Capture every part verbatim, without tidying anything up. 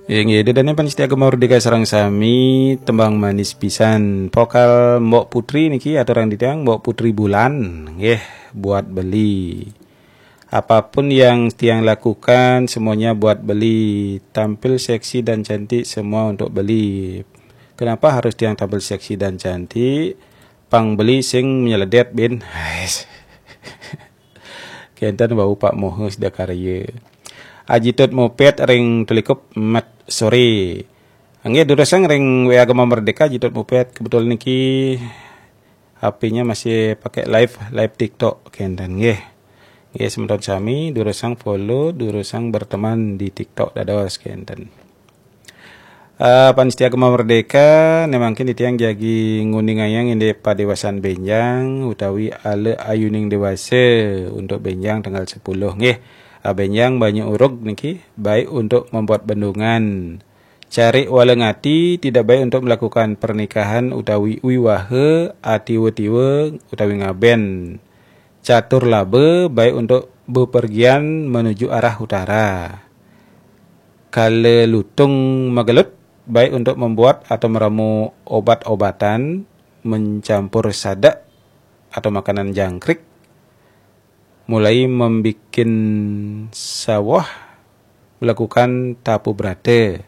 Inggih, ida dané pamiarsa Gema Merdeka sareng sami, tembang manis pisan. Vokal Mbok Putri niki aturang titiang, Mbok Putri Bulan, nggih, Buat Beli. Apapun yang tiang lakukan, semuanya buat beli. Tampil seksi dan cantik, semua untuk beli. Kenapa harus tiang tampil seksi dan cantik? Pang beli sing nyeledet, bin. Hais. Kénten wau Pak Mohe Sidakarya. Aji Tut Moped ring Telikup, mat soré. Nggih, durusang ring W A Gema Merdeka, Aji Tut Moped. Kebetulan niki H P-nya masih pakai live, live TikTok, kénten nggih. Nggih, semeton sami, durusang follow, durusang berteman di TikTok dados, kénten. Eh, pamiarsa Gema Merdeka, né mangkin titiang jagi nguningayang indik padéwasan bénjang utawi ala ayuning déwasa untuk bénjang tanggal sepuluh nggih. Ah, bénjang banyu urug niki baik untuk membuat bendungan. Carik walengati tidak baik untuk melakukan pernikahan utawi wiwaha, atiwa-tiwa utawi ngabén. Catur laba baik untuk bepergian menuju arah utara. Kala lutung magelut, baik untuk membuat atau meramu obat-obatan, mencampur sadek atau makanan jangkrik, mulai membikin sawah, melakukan tapu brata.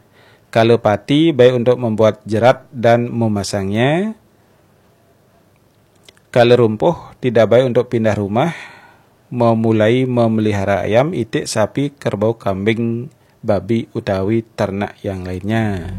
Kala pati baik untuk membuat jerat dan memasangnya. Kala rumpuh tidak baik untuk pindah rumah, memulai memelihara ayam, itik, sapi, kerbau, kambing, babi, utawi ternak yang lainnya.